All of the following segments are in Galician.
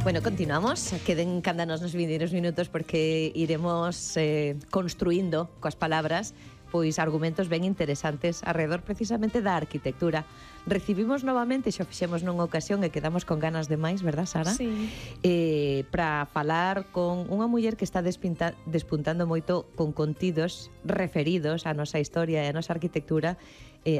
Bueno, continuamos. Queden cándanos nos vindeiros minutos porque iremos construindo coas palabras pois argumentos ben interesantes alrededor precisamente da arquitectura. Recibimos novamente, xa fixemos nunha ocasión e quedamos con ganas de máis, verdad, Sara? Sí. Para falar con unha muller que está despuntando moito con contidos referidos á nosa historia e á nosa arquitectura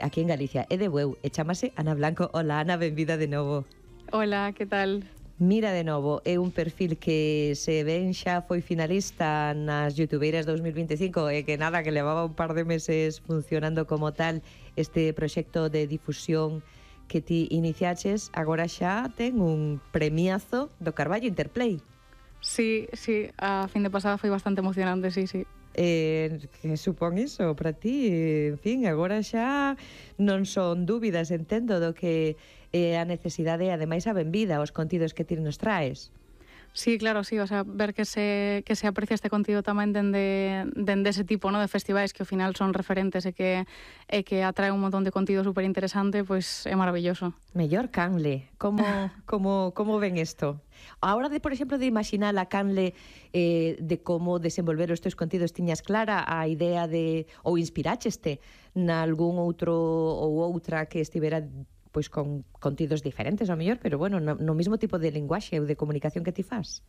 aquí en Galicia. É de Bueu e chamase Ana Blanco. Hola, Ana, benvida de novo. Hola, que tal? Mira de novo, é un perfil que se ven xa foi finalista nas Youtubeiras 2025 e que nada, que levaba un par de meses funcionando como tal este proxecto de difusión que ti iniciaches, agora xa ten un premiazo do Carballo Interplay. Sí, a fin de pasada foi bastante emocionante, sí. Que supón iso para ti? En fin, agora xa non son dúbidas, entendo, do que é a necesidade e ademais a benvida aos contidos que ti nos traes. Sí, claro, sí, o sea, ver que se aprecia este contido tamén dende ese tipo, ¿no?, de festivais que ao final son referentes e que atrae un montón de contido super interesante, pois é maravilloso. Mellor canle, como ven isto? A hora de, por exemplo, de imaginar a canle de como desenvolver os teus contidos, tiñas clara a idea de, ou inspiraxeste nalgún outro ou outra que estivera pois con contidos diferentes ao mellor, pero bueno, no mismo tipo de linguaxe ou de comunicación que ti fas?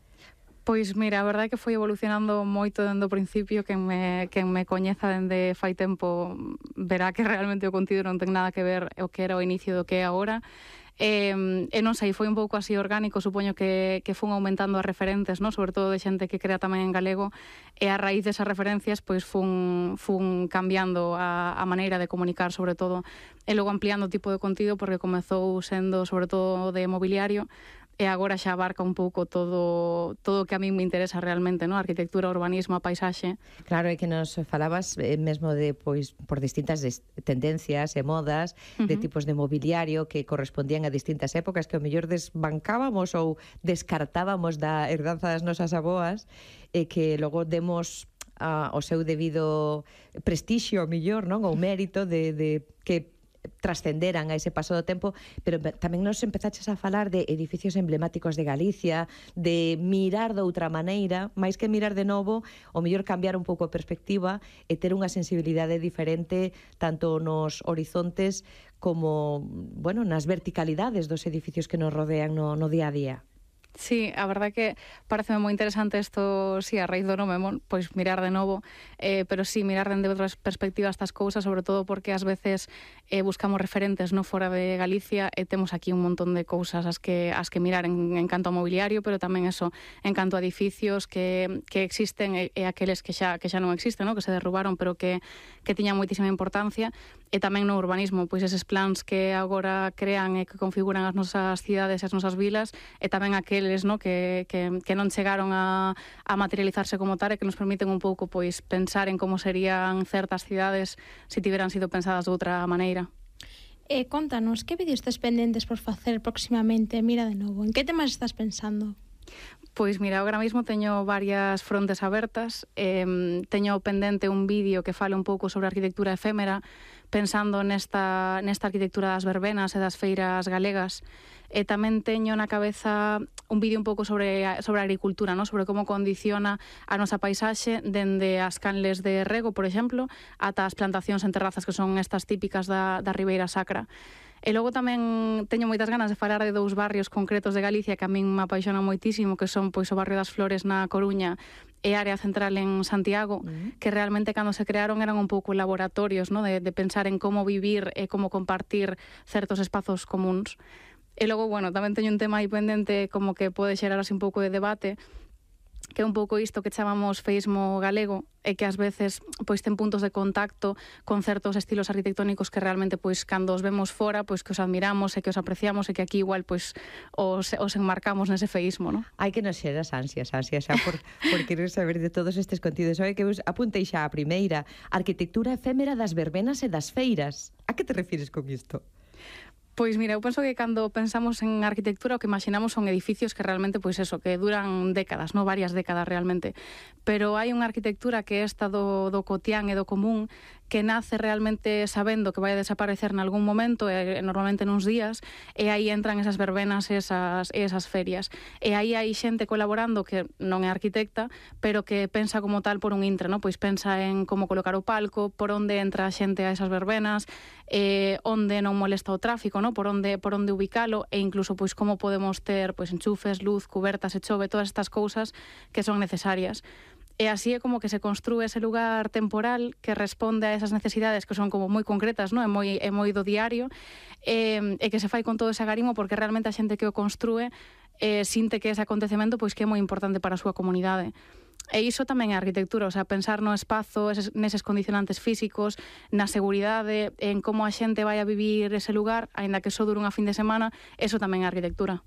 Pois mira, a verdade é que foi evolucionando moito dende o principio, quen me coñeza dende fai tempo verá que realmente o contido non ten nada que ver o que era o inicio do que é agora. E non sei, foi un pouco así orgánico, supoño que fun aumentando as referentes, ¿no?, sobre todo de xente que crea tamén en galego, e a raíz desas referencias pois fun cambiando a maneira de comunicar, sobre todo, e logo ampliando o tipo de contido, porque comezou sendo sobre todo de mobiliario, e agora xa abarca un pouco todo o que a mí me interesa realmente, ¿no?, arquitectura, urbanismo, a paisaxe. Claro, é que nos falabas mesmo de, pois, por distintas tendencias e modas, de tipos de mobiliario que correspondían a distintas épocas que ao mellor desbancábamos ou descartábamos da herdanza das nosas aboas e que logo demos o seu debido prestixio, ao mellor, non? Ou mérito de que trascenderan a ese paso do tempo, pero tamén nos empezaches a falar de edificios emblemáticos de Galicia, de mirar de outra maneira, máis que mirar de novo, o mellor cambiar un pouco a perspectiva e ter unha sensibilidade diferente tanto nos horizontes como, bueno, nas verticalidades dos edificios que nos rodean no día a día. Sí, a verdade que pareceme moi interesante isto, sí, a raíz do nome, pois mirar de novo, pero sí, mirar dende outras perspectivas estas cousas, sobre todo porque ás veces buscamos referentes no fora de Galicia e temos aquí un montón de cousas as que mirar en canto a mobiliario, pero tamén eso, en canto a edificios que existen e aqueles que xa non existen, ¿no?, que se derrubaron, pero que tiñan moitísima importancia, e tamén no urbanismo, pois eses plans que agora crean e que configuran as nosas cidades e as nosas vilas, e tamén aqueles, ¿no?, que non chegaron a materializarse como tal e que nos permiten un pouco pois pensar en como serían certas cidades se tiveran sido pensadas de outra maneira. Contanos, que vídeos tes pendentes por facer próximamente? Mira de novo, en que temas estás pensando? Pois mira, agora mesmo teño varias frontes abertas, teño pendente un vídeo que fale un pouco sobre a arquitectura efémera, pensando nesta arquitectura das verbenas e das feiras galegas, e tamén teño na cabeza un vídeo un pouco sobre a agricultura, ¿no?, sobre como condiciona a nosa paisaxe dende as canles de rego, por exemplo, ata as plantacións en terrazas que son estas típicas da Ribeira Sacra. E logo tamén teño moitas ganas de falar de dous barrios concretos de Galicia que a min me apaixonan moitísimo, que son pois o barrio das Flores na Coruña e a área central en Santiago, que realmente cando se crearon eran un pouco laboratorios, ¿no?, de pensar en como vivir e como compartir certos espazos comuns. E logo, bueno, tamén teño un tema aí pendente como que pode xerar así un pouco de debate, que é un pouco isto que chamamos feísmo galego e que ás veces pois ten puntos de contacto con certos estilos arquitectónicos que realmente pois cando os vemos fora pois que os admiramos e que os apreciamos e que aquí igual pois os enmarcamos nese feísmo, ¿no? Hai que nos xeras ansias xa por querer saber de todos estes contidos. Sabe que apuntei xa a primeira, arquitectura efémera das verbenas e das feiras. A que te refires con isto? Pois mira, eu penso que cando pensamos en arquitectura o que imaginamos son edificios que realmente, pois eso, que duran décadas, no varias décadas realmente. Pero hai unha arquitectura que é esta do cotián e do común que nace realmente sabendo que vai a desaparecer nalgún momento, normalmente nuns días, e aí entran esas verbenas e esas ferias. E aí hai xente colaborando que non é arquitecta, pero que pensa como tal por un intre, no? Pois pensa en como colocar o palco, por onde entra a xente a esas verbenas, onde non molesta o tráfico, no? Por onde ubicalo, e incluso pois como podemos ter pois enchufes, luz, cubertas e chove, todas estas cousas que son necesarias. E así é como que se construe ese lugar temporal que responde a esas necesidades que son como moi concretas, no? É moi do diario, e que se fai con todo ese agarimo porque realmente a xente que o construe sinte que ese acontecemento pois que é moi importante para a súa comunidade. E iso tamén é arquitectura, o sea, pensar no espazo, neses condicionantes físicos, na seguridade, en como a xente vai a vivir ese lugar, aínda que só dure unha fin de semana, eso tamén é arquitectura.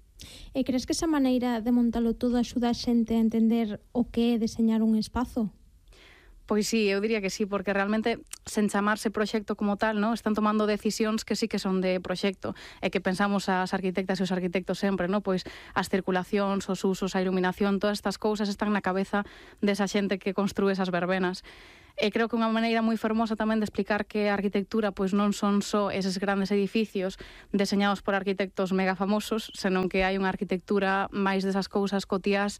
E crees que esa maneira de montalo todo axuda a xente a entender o que é deseñar un espazo? Pois sí, eu diría que sí, porque realmente, sen chamarse proxecto como tal, no? Están tomando decisións que sí que son de proxecto, e que pensamos as arquitectas e os arquitectos sempre, no? Pois as circulacións, os usos, a iluminación, todas estas cousas están na cabeza desa xente que construe esas verbenas. E creo que unha maneira moi fermosa tamén de explicar que a arquitectura pois non son só eses grandes edificios deseñados por arquitectos mega famosos, senón que hai unha arquitectura máis desas cousas cotiás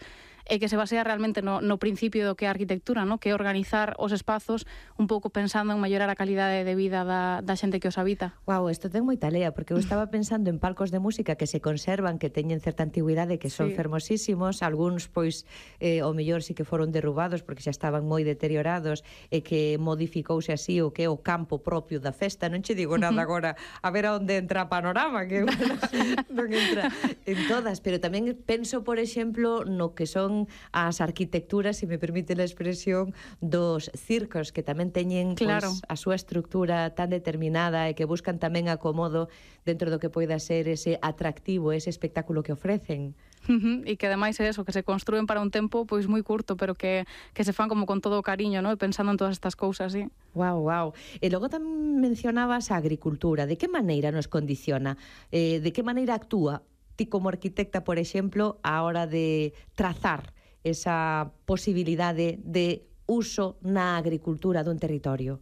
e que se basea realmente no principio do que é a arquitectura, no? Que é organizar os espazos un pouco pensando en mellorar a calidade de vida da xente que os habita. Uau, isto ten moita lea, porque eu estaba pensando en palcos de música que se conservan, que teñen certa antigüidade, que son fermosísimos, algúns, pois, o mellor sí que foron derrubados porque xa estaban moi deteriorados e que modificouse así o que é o campo propio da festa. Non che digo nada agora a ver a onde entra a Panorama, que non entra en todas, pero tamén penso, por exemplo, no que son as arquitecturas, se me permite a expresión, dos circos, que tamén teñen pois, a súa estructura tan determinada e que buscan tamén acomodo dentro do que poida ser ese atractivo, ese espectáculo que ofrecen. E que ademais é eso, que se construen para un tempo pois moi curto, pero que se fan como con todo o cariño, no? Pensando en todas estas cousas, sí. Wow. E logo tamén mencionabas a agricultura. De que maneira nos condiciona? De que maneira actúa ti como arquitecta, por exemplo, a hora de trazar esa posibilidade de uso na agricultura dun territorio?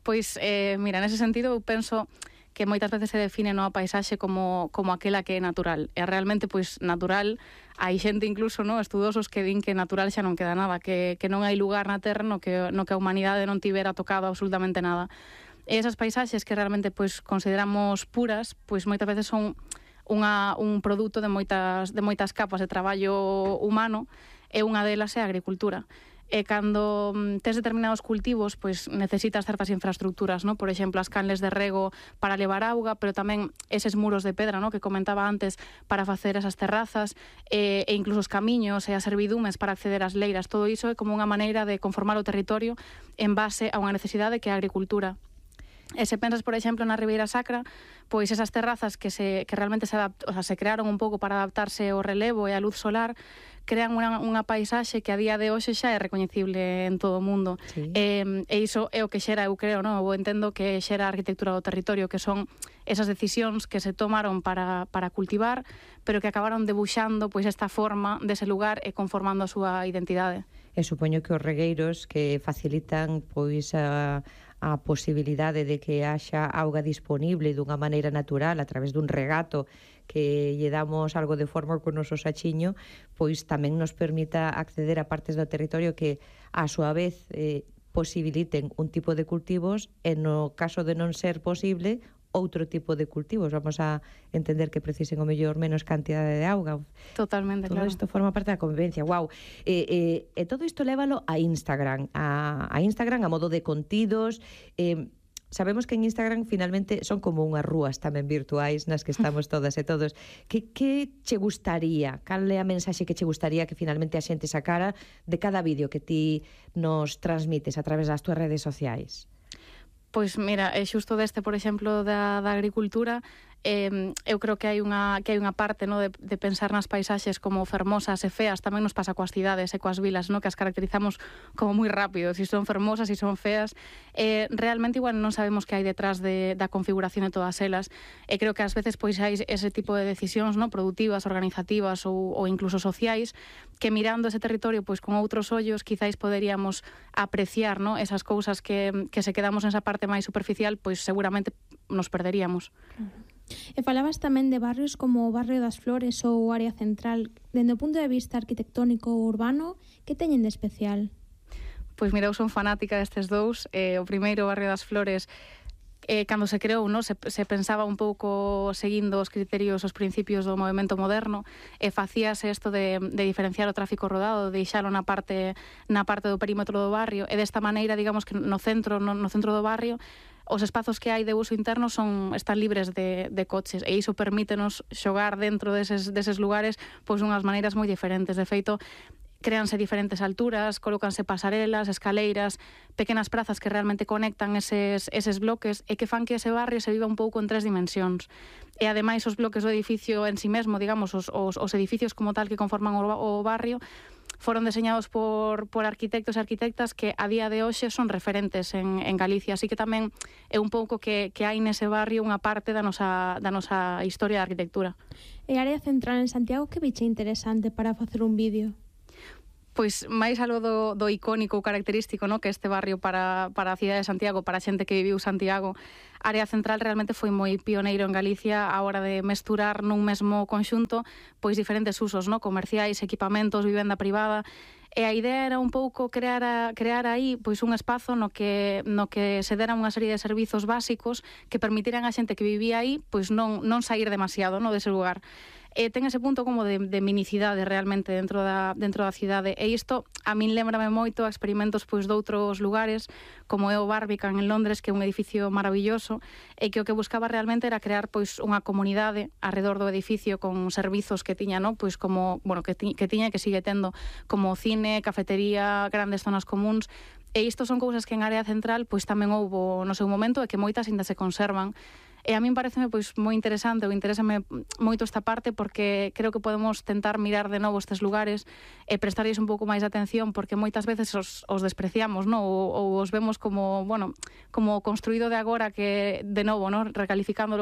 Pois, mira, nese sentido eu penso que moitas veces se define a paisaxe como aquela que é natural. E realmente, pois, natural, hai xente incluso, estudosos que din que natural xa non queda nada, que non hai lugar na Terra no que a humanidade non tivera tocado absolutamente nada. E esas paisaxes que realmente pois consideramos puras, pois moitas veces son un produto de moitas capas de traballo humano, e unha delas é a agricultura. E cando tes determinados cultivos, pois necesitas certas infraestructuras, no? Por exemplo, as canles de rego para levar auga, pero tamén eses muros de pedra, no? Que comentaba antes, para facer esas terrazas, e incluso os camiños e as servidumes para acceder ás leiras. Todo iso é como unha maneira de conformar o territorio en base a unha necesidade que é a agricultura. E se pensas, por exemplo, na Ribeira Sacra, pois esas terrazas que realmente se crearon un pouco para adaptarse ao relevo e á luz solar, crean unha paisaxe que a día de hoxe xa é recoñecible en todo o mundo. Sí. E iso é o que xera, eu creo, eu entendo que xera a arquitectura do territorio, que son esas decisións que se tomaron para cultivar, pero que acabaron debuxando pois esta forma dese lugar e conformando a súa identidade. E supoño que os regueiros que facilitan pois a posibilidade de que haxa auga disponible dunha maneira natural a través dun regato que lle damos algo de forma con o noso sachiño, pois tamén nos permita acceder a partes do territorio que a súa vez posibiliten un tipo de cultivos e no caso de non ser posible outro tipo de cultivos. Vamos a entender que precisen o mellor menos cantidade de auga. Totalmente, todo claro. Todo isto forma parte da convivencia. Wow. E todo isto lévalo a Instagram, a Instagram a modo de contidos. Sabemos que en Instagram finalmente son como unhas rúas tamén virtuais nas que estamos todas e todos. Que che gustaría? Cal é a mensaxe que che gustaría que finalmente a xente sacara de cada vídeo que ti nos transmites a través das túas redes sociais? Pois mira, xusto deste, por exemplo, da agricultura, eu creo que hai unha parte, no, de pensar nas paisaxes como fermosas e feas, tamén nos pasa coas cidades e coas vilas, no, que as caracterizamos como moi rápido, si son fermosas, si son feas, realmente igual non sabemos que hai detrás da configuración de todas elas, e creo que ás veces pois hai ese tipo de decisións, no, productivas, organizativas ou incluso sociais, que mirando ese territorio pois con outros ollos quizáis poderíamos apreciar, no, esas cousas que se quedamos nesa parte máis superficial, pois seguramente nos perderíamos. E falabas tamén de barrios como o Barrio das Flores ou o Área Central. Dende o punto de vista arquitectónico ou urbano, que teñen de especial? Pois mira, eu son fanática destes dous. O primeiro, o Barrio das Flores, cando se creou, no, se pensaba un pouco seguindo os criterios, os principios do movimento moderno, e facíase isto de diferenciar o tráfico rodado, de deixalo na parte do perímetro do barrio, e desta maneira, digamos que no centro do barrio, os espazos que hai de uso interno están libres de coches, e iso permítenos xogar dentro deses lugares pois unhas maneiras moi diferentes. De feito, créanse diferentes alturas, colócanse pasarelas, escaleiras, pequenas prazas que realmente conectan eses bloques e que fan que ese barrio se viva un pouco en 3 dimensións. E ademais os bloques do edificio en sí mesmo, digamos, os edificios como tal que conforman o barrio, foron deseñados por arquitectos e arquitectas que a día de hoxe son referentes en Galicia, así que tamén é un pouco que hai nese barrio unha parte da nosa historia da arquitectura. E a Área Central en Santiago, que biche interesante para facer un vídeo? Pois máis algo do icónico ou característico, no, que este barrio para a cidade de Santiago, para a xente que viviu Santiago, a Área Central realmente foi moi pioneiro en Galicia a hora de mesturar nun mesmo conxunto pois diferentes usos, no, comerciais, equipamentos, vivenda privada. E a idea era un pouco crear aí pois un espazo no que se deran unha serie de servizos básicos que permitiran a xente que vivía aí pois non sair demasiado, no, dese lugar. Ten ese punto como de minicidade realmente dentro da cidade, e isto a min lembrame moito a experimentos pois doutros lugares, como é o Barbican en Londres, que é un edificio maravilloso e que o que buscaba realmente era crear pois unha comunidade arredor do edificio con servizos que tiña, no, pois como, bueno, que tiña e que sigue tendo, como cine, cafetería, grandes zonas comuns. E isto son cousas que en Área Central pois tamén houbo no seu momento e que moitas ainda se conservan. E a min pareceme pois moi interesante, ou interésame moito esta parte, porque creo que podemos tentar mirar de novo estes lugares e prestarlles un pouco máis de atención, porque moitas veces os despreciamos, no? ou os vemos como, bueno, como construído de agora, que de novo, no, recalificando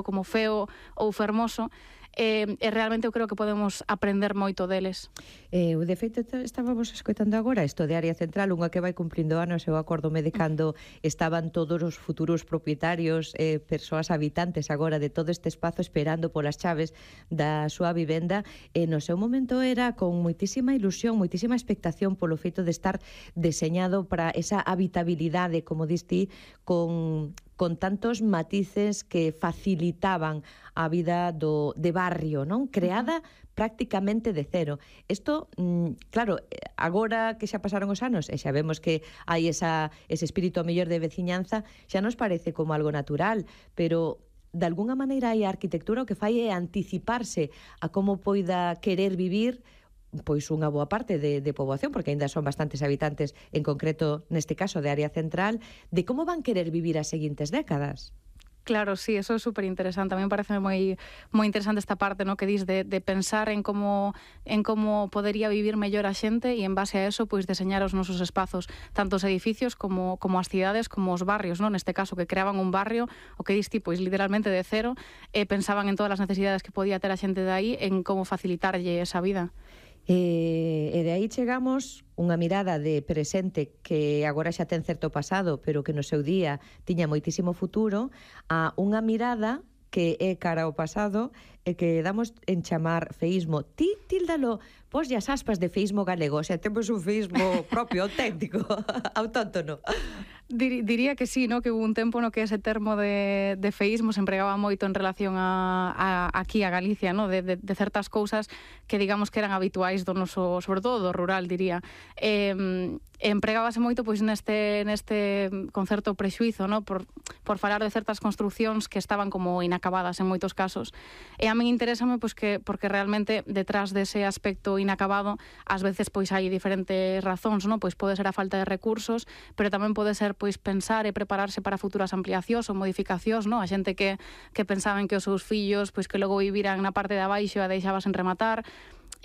como feo ou fermoso. E realmente eu creo que podemos aprender moito deles. De feito, estábamos escoitando agora isto de Área Central, unha que vai cumplindo anos. Eu acordome de cando estaban todos os futuros propietarios, persoas habitantes agora de todo este espazo esperando polas chaves da súa vivenda, e no seu momento era con moitísima ilusión, moitísima expectación polo feito de estar deseñado para esa habitabilidade, como diste, con tantos matices que facilitaban a vida de barrio, non? Creada prácticamente de cero. Isto, claro, agora que xa pasaron os anos e xa vemos que hai ese espírito mellor de veciñanza, xa nos parece como algo natural, pero de alguna maneira hai a arquitectura o que fai é anticiparse a como poida querer vivir pois unha boa parte de poboación, porque aínda son bastantes habitantes, en concreto neste caso de Área Central, de como van querer vivir as seguintes décadas. Claro, sí, eso é super interesante. A mí me parece moi interesante esta parte, no, que dis de pensar en como podería vivir mellor a xente, e en base a eso pois deseñar os nosos espazos, tanto os edificios como as cidades, como os barrios, no, neste caso, que creaban un barrio, o que dis ti, pois literalmente de cero, e pensaban en todas as necesidades que podía ter a xente de aí, en como facilitarlle esa vida. E de aí chegamos unha mirada de presente que agora xa ten certo pasado, pero que no seu día tiña moitísimo futuro, a unha mirada que é cara ao pasado e que damos en chamar feísmo. Ti tíldalo, pos as aspas de feísmo galego, o sea, temos un feísmo propio, auténtico, autóctono. Diría que sí, no, que hubo un tempo no que ese termo de feísmo se empregaba moito en relación aquí a Galicia, no, de certas cousas que digamos que eran habituais do noso, sobre todo do rural, diría. Empregábase moito pois neste concerto prexuízo, no, por falar de certas construcións que estaban como inacabadas en moitos casos. E a tamén interésame pois que porque realmente detrás dese aspecto inacabado ás veces pois hai diferentes razóns, non? Pois pode ser a falta de recursos, pero tamén pode ser pois pensar e prepararse para futuras ampliacións ou modificacións, non? A xente que pensaban que os seus fillos pois que logo viviran na parte de abaixo e a deixabas en rematar,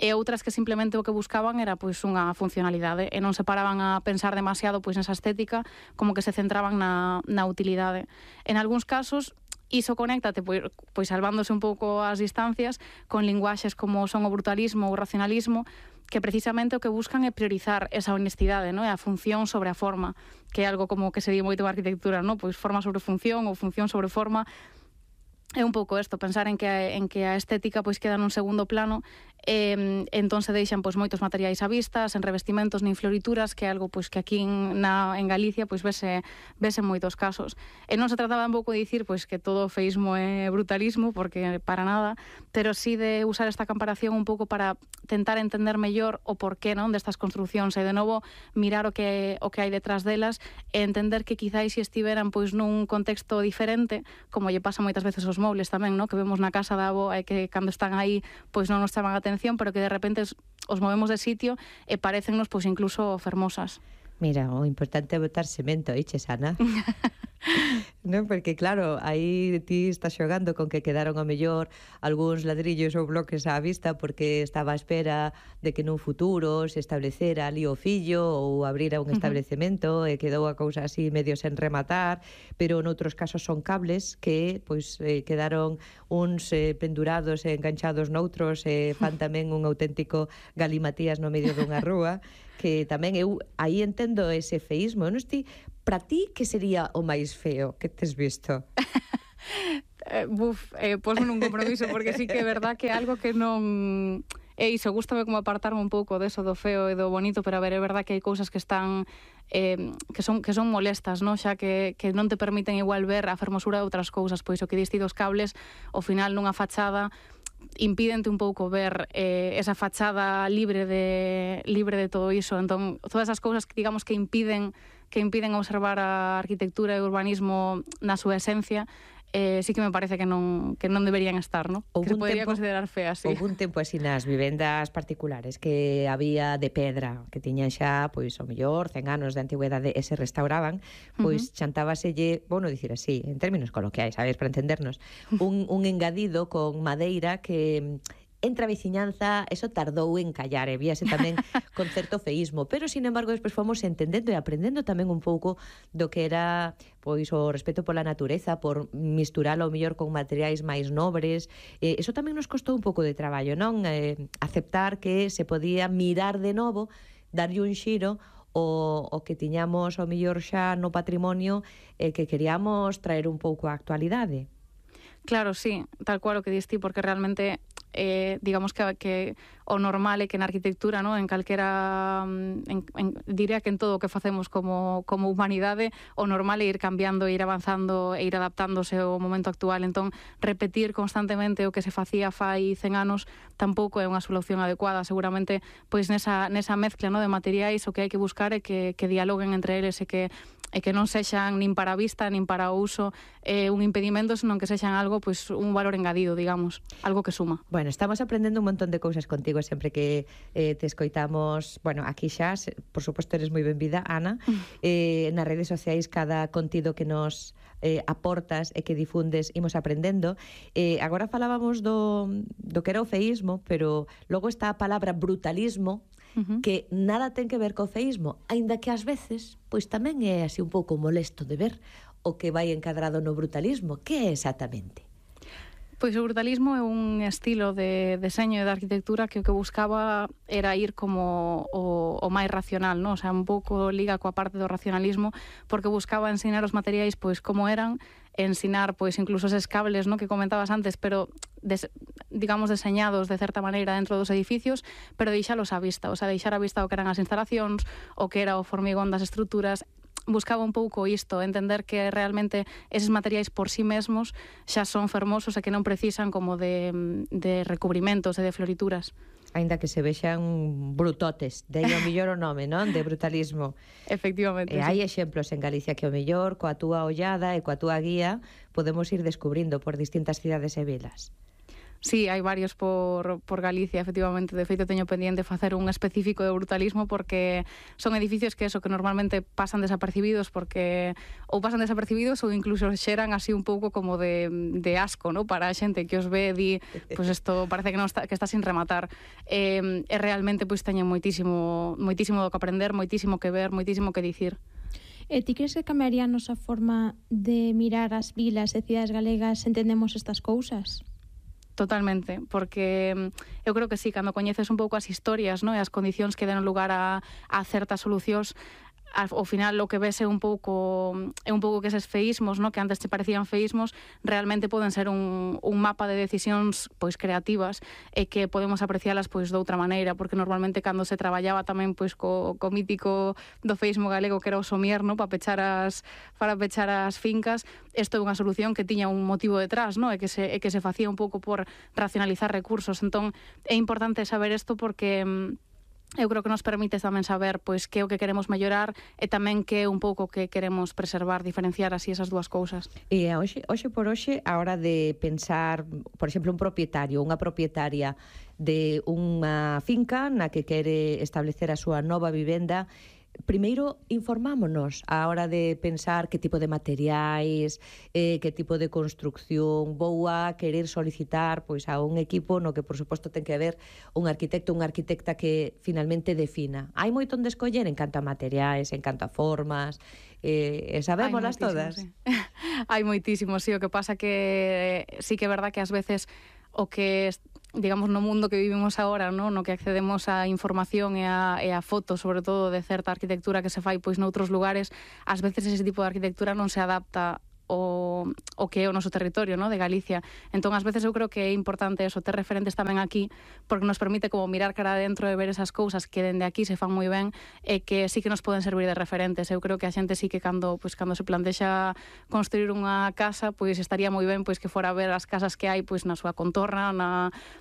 e outras que simplemente o que buscaban era pois unha funcionalidade e non se paraban a pensar demasiado pois nesa estética, como que se centraban na utilidade. En algúns casos iso conéctate, pois salvándose un pouco as distancias, con linguaxes como son o brutalismo ou o racionalismo, que precisamente o que buscan é priorizar esa honestidade, non? A función sobre a forma, que é algo como que se di moito en arquitectura, non? Pois forma sobre función ou función sobre forma. É un pouco isto, pensar en que a estética pois queda nun segundo plano, entón se deixan pois moitos materiais á vista, sen revestimentos nin florituras, que é algo pois que aquí en Galicia pois vese en moitos casos. E non se trataba tampouco de dicir pois que todo o feísmo é brutalismo, porque para nada, pero sí de usar esta comparación un pouco para tentar entender mellor o porqué, non, destas construcións e de novo mirar o que hai detrás delas e entender que quizáis se estiveran pois nun contexto diferente, como lle pasa moitas veces aos mobles tamén, non? Que vemos na casa da avó e que cando están aí pois non nos chaman a atención, pero que de repente os movemos de sitio e parecennos pois incluso fermosas. Mira, o importante é botar cemento, eiches, Ana? Non, porque claro, aí ti estás xogando con que quedaron a mellor algúns ladrillos ou bloques á vista porque estaba á espera de que nun futuro se establecera ali o fillo ou abrira un establecemento e quedou a cousa así medio sen rematar, pero noutros casos son cables que pois quedaron uns pendurados e enganchados noutros e fan tamén un auténtico galimatías no medio dunha rúa, que tamén eu aí entendo ese feísmo. Non esti, para ti, que sería o máis feo que tes visto? Posme nun compromiso, porque sí que é verdad que é algo que non... E iso, gústame como apartarme un pouco deso do feo e do bonito, pero a ver, é verdad que hai cousas que están que son molestas, non? Xa que non te permiten igual ver a fermosura de outras cousas, pois o que diste dos cables, ao final nunha fachada impídente un pouco ver esa fachada libre de todo iso. Entón, todas esas cousas que digamos que impiden observar a arquitectura e o urbanismo na súa esencia, sí que me parece que non deberían estar, ¿no? Que se podría considerar feas, sí. Houve un tempo así nas vivendas particulares que había de pedra, que tiñan xa, pois, o mellor, 100 anos de antigüedade e se restauraban, pois chantábaselle, bueno, dicir así, en términos coloquiais, sabes, para entendernos, un engadido con madeira que entre a veciñanza, eso tardou en callar, e víase tamén con certo feísmo, pero, sin embargo, despois fomos entendendo e aprendendo tamén un pouco do que era pois o respeto pola natureza, por misturar ao mellor con materiais máis nobres. Eso tamén nos costou un pouco de traballo, non? Aceptar que se podía mirar de novo, darlle un xiro o que tiñamos ao mellor xa no patrimonio que queríamos traer un pouco á actualidade. Claro, sí, tal cual o que diste, porque realmente digamos que o normal é que na arquitectura, ¿no? En calquera diría que en todo o que facemos como humanidade, o normal é ir cambiando, ir avanzando e ir adaptándose ao momento actual. Entón, repetir constantemente o que se facía fai 100 anos tampouco é unha solución adecuada. Seguramente, pois nesa mezcla, ¿no? De materiais, o que hai que buscar é que dialoguen entre eles e que non sexan nin para a vista, nin para o uso un impedimento, senón que sexan algo, pois un valor engadido, digamos, algo que suma. Bueno, estamos aprendendo un montón de cousas contigo sempre que te escoitamos, bueno, aquí xa, por suposto eres moi benvida, Ana, nas redes sociais cada contido que nos aportas e que difundes imos aprendendo. Agora falábamos do que era o feísmo, pero logo está a palabra brutalismo, que nada ten que ver co feísmo, aínda que ás veces pois tamén é así un pouco molesto de ver o que vai encadrado no brutalismo. Que é exactamente? Pois o brutalismo é un estilo de deseño e de arquitectura que o que buscaba era ir como o máis racional, non? O sea, un pouco liga coa parte do racionalismo, porque buscaba ensinar os materiais pois como eran, ensinar pois incluso eses cables, ¿no? Que comentabas antes, pero digamos deseñados de certa maneira dentro dos edificios, pero deixalos á vista, o sea, deixar á vista o que eran as instalacións, o que era o formigón das estruturas. Buscaba un pouco isto, entender que realmente eses materiais por sí mesmos xa son fermosos e que non precisan como de recubrimentos e de florituras. Aínda que se vexan brutotes, de aí o mellor o nome, non? De brutalismo. Efectivamente. E hai exemplos en Galicia que o mellor, coa túa ollada e coa túa guía, podemos ir descubrindo por distintas cidades e vilas. Sí, hai varios por Galicia, efectivamente. De feito, teño pendiente facer un específico de brutalismo porque son edificios que normalmente pasan desapercibidos porque ou pasan desapercibidos ou incluso xeran así un pouco como de asco, ¿no? Para a xente que os ve di, pues isto parece que non está, que está sin rematar. E realmente pois teñen moitísimo do que aprender, moitísimo que ver, moitísimo que dicir. E ti crees que cambiaría a nosa forma de mirar as vilas e cidades galegas se entendemos estas cousas? Totalmente, porque eu creo que sí, cando coñeces un pouco as historias, no, e as condicións que den lugar a certas solucións, ao final o que ves é un pouco que eses feísmos, no, que antes te parecían feísmos, realmente poden ser un mapa de decisións pois creativas e que podemos aprecialas pois de outra maneira, porque normalmente cando se traballaba tamén pois co mítico do feísmo galego que era o somier, no, para pechar as fincas, isto é unha solución que tiña un motivo detrás, no, e que se facía un pouco por racionalizar recursos. Entón é importante saber isto porque eu creo que nos permite tamén saber pois que é o que queremos mellorar e tamén que é un pouco que queremos preservar, diferenciar así esas dúas cousas. E hoxe por hoxe, a hora de pensar, por exemplo, un propietario, unha propietaria de unha finca na que quere establecer a súa nova vivenda, primeiro informámonos a hora de pensar que tipo de materiais, que tipo de construcción vou a querer solicitar pois a un equipo no que por suposto ten que haber un arquitecto ou unha arquitecta que finalmente defina. Hai moito onde escoller en canto a materiais, en canto a formas, sabémolas todas. Sí. Hai moitísimo, sí, o que pasa que sí que é verdad que ás veces o que digamos, no mundo que vivimos agora, no que accedemos a información e a fotos, sobre todo, de certa arquitectura que se fai pois noutros lugares, ás veces ese tipo de arquitectura non se adapta o que é o noso territorio, no, de Galicia. Entón, ás veces eu creo que é importante eso, ter referentes tamén aquí, porque nos permite como mirar cara adentro e ver esas cousas que dende aquí se fan moi ben e que sí que nos poden servir de referentes. Eu creo que a xente sí que cando se plantexa construir unha casa, pois estaría moi ben pois que fora a ver as casas que hai pois na súa contorna,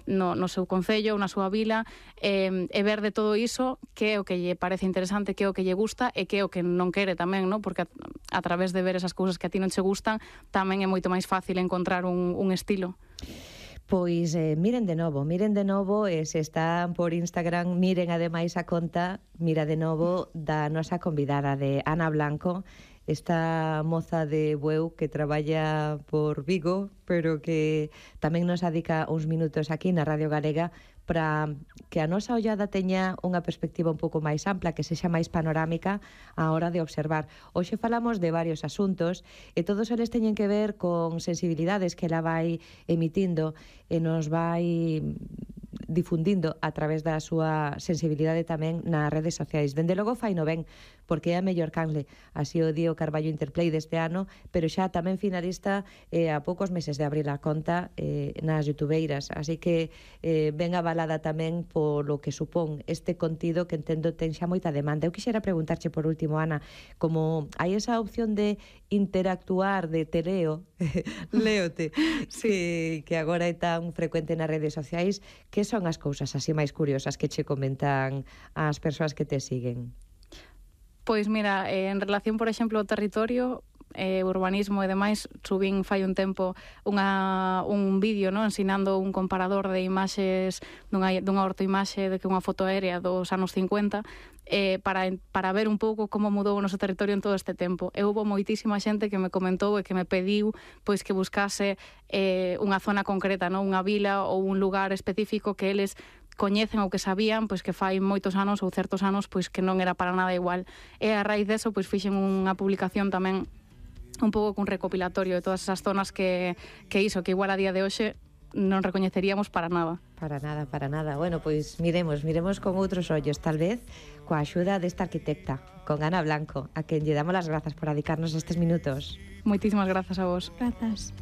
no seu concello, na súa vila, e ver de todo iso que é o que lle parece interesante, que é o que lle gusta e que é o que non quere tamén, no? Porque a través de ver esas cousas que a ti non che gustan, tamén é moito máis fácil encontrar un estilo. Pois miren de novo, e se están por Instagram, miren ademais a conta, mira de novo, da nosa convidada de Ana Blanco, esta moza de Bueu que traballa por Vigo, pero que tamén nos dedica uns minutos aquí na Radio Galega para que a nosa ollada teña unha perspectiva un pouco máis ampla, que sexa máis panorámica á hora de observar. Hoxe falamos de varios asuntos e todos eles teñen que ver con sensibilidades que ela vai emitindo e nos vai difundindo a través da súa sensibilidade tamén nas redes sociais. Dende logo fai no ben, porque é a mellor canle. Así o di o Carballo Interplay deste ano, pero xa tamén finalista a poucos meses de abrir a conta nas youtubeiras. Así que ben avalada tamén polo que supón este contido que entendo ten xa moita demanda. Eu quixera preguntarche por último, Ana, como hai esa opción de interactuar, de te leo, léote, sí, que agora é tan frecuente nas redes sociais, que son as cousas así máis curiosas que che comentan as persoas que te siguen? Pois mira, en relación, por exemplo, ao territorio, urbanismo e demais, subín fai un tempo un vídeo, no, ensinando un comparador de imaxes dunha ortoimaxe de que unha foto aérea dos anos 50 para ver un pouco como mudou o noso territorio en todo este tempo. E houve moitísima xente que me comentou e que me pediu pois que buscase unha zona concreta, no, unha vila ou un lugar específico que eles coñecen ou que sabían pois que fai moitos anos ou certos anos pois que non era para nada igual. E a raíz deso pois fixen unha publicación tamén un pouco cun recopilatorio de todas esas zonas que iso, que igual a día de hoxe non recoñeceríamos para nada. Para nada. Bueno, pois miremos con outros ollos, tal vez coa axuda desta arquitecta, con Ana Blanco, a quen lle damos as grazas por dedicarnos estes minutos. Moitísimas grazas a vos. Grazas.